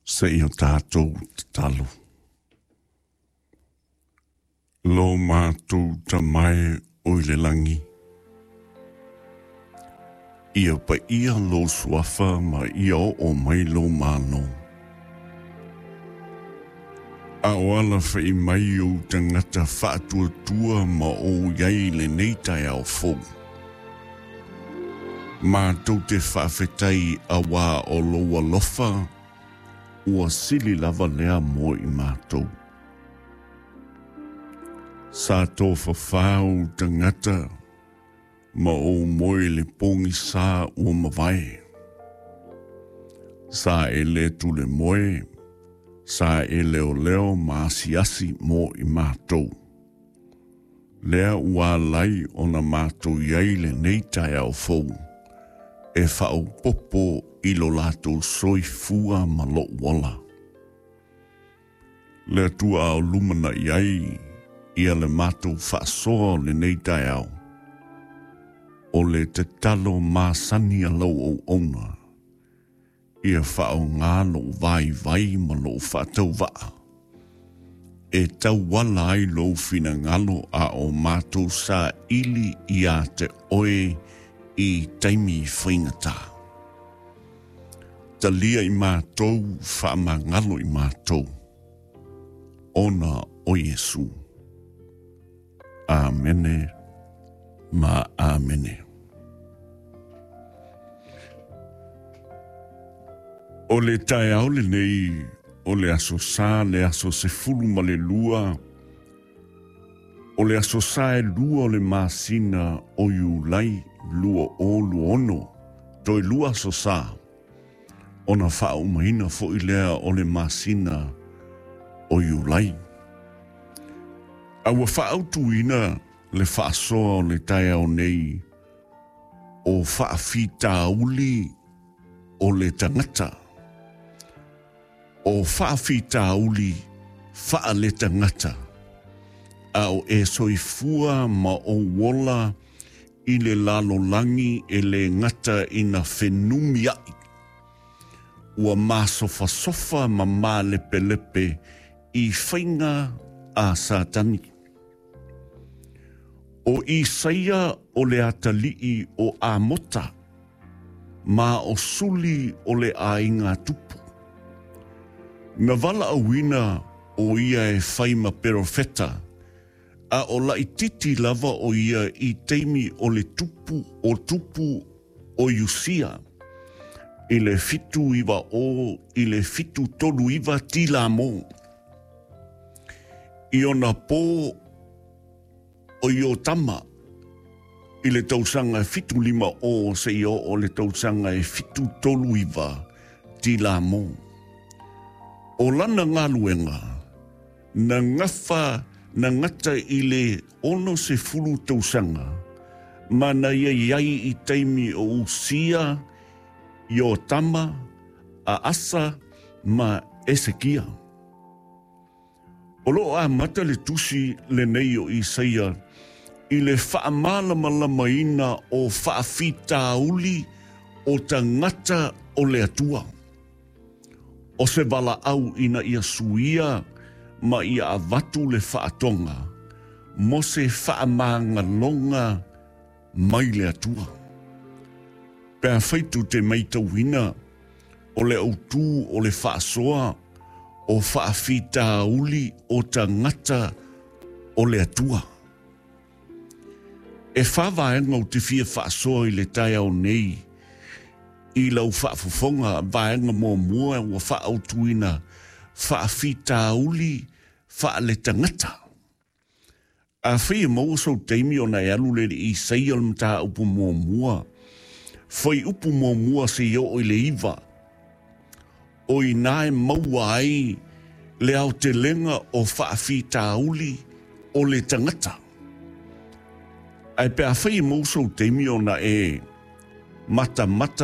Se i o tātou tatalo. Lo mātou tamae o i le langi. Ia pa ia lo suafa ma ia o o mai lo māno. A o ala whai mai o tangata whaatuatua ma o iai le nei tai ao fou. Mātou te whaafetai a wā o lo alofa, ua sili lava lea mo i mātou. Sa tō whawhau tangata ma o moe le pongi sa ua mawai. Sa e le tule moe, sa e leo leo ma asiasi mo i mātou. Lea ua lai o na mātou iai le nei tai au fou, e whaopopo i lo lātou soifua ma lo wala. Le atua au lumana i ai, ia le mātou whaasoa o le nei tai au. O le te talo māsani a lau o ona, ia whao ngā lo vai vai ma lo whaatau waa. E tauala ai lou finagalo a o mātou sa ili ia te oe i taimi whaingata. Talia i mātou, whaamangalo i mātou. Ona o Iesu. Amene ma amene. O le tae ao le nei o le aso sa le aso se fulu ma le lua, o le aso sa e lua o le masina o Iulai 2026, toe lua aso sa, ona faaumaina fo'i lea o le masina o Iulai. A ua faautuina le faasoa o le taeao nei o faafitauli o le tagata. O faafitauli faale tagata. A o e soifua ma o wola i le lalolangi e le gata ina fenumi ai. Ua masofasofa ma malepelepe i whainga a Satani. O Isaia o le atalii o Amota, ma o suli o le ainga tupu. Na wala awina o ia e whaima perofeta, a o laititi lava o ia i teimi o le tupu o tupu o Iusia, i le 79 i le 79 tila mo. I ona pō o Iotama i le tausanga e 75 o se i o le tausanga e 79 tila mo. O lana ngā na ngawha na ngata i le ono se fulu tausanga, ma na ia iai i taimi o Usia, Iotama, a Asa ma Esekia. O loo a mata le tusi le nei o Isaia i le whaamalamalamaina o whaafitauli o tangata o le atua. O se wala au ina ia suia ma ia avatu le whaatonga, mo se whaamāngalonga mai le atua. Pea whaitu te maitauina o le autu o le whaasoa o whaafitauli o tangata o le atua. E whāwaenga o te fia whaasoa i le tai au nei, i lau whaafofonga vaenga mō mua ua whaautuina whaafitauli whaale tangata. A whia maua sau teimi o na e alu le i seia le mata upu mō mua. Whai upu mō mua se i o i le iwa. O i nae maua ai le au te lenga o whaafitauli o le tangata. Ai pe a whai maua sau teimi o na e mata mata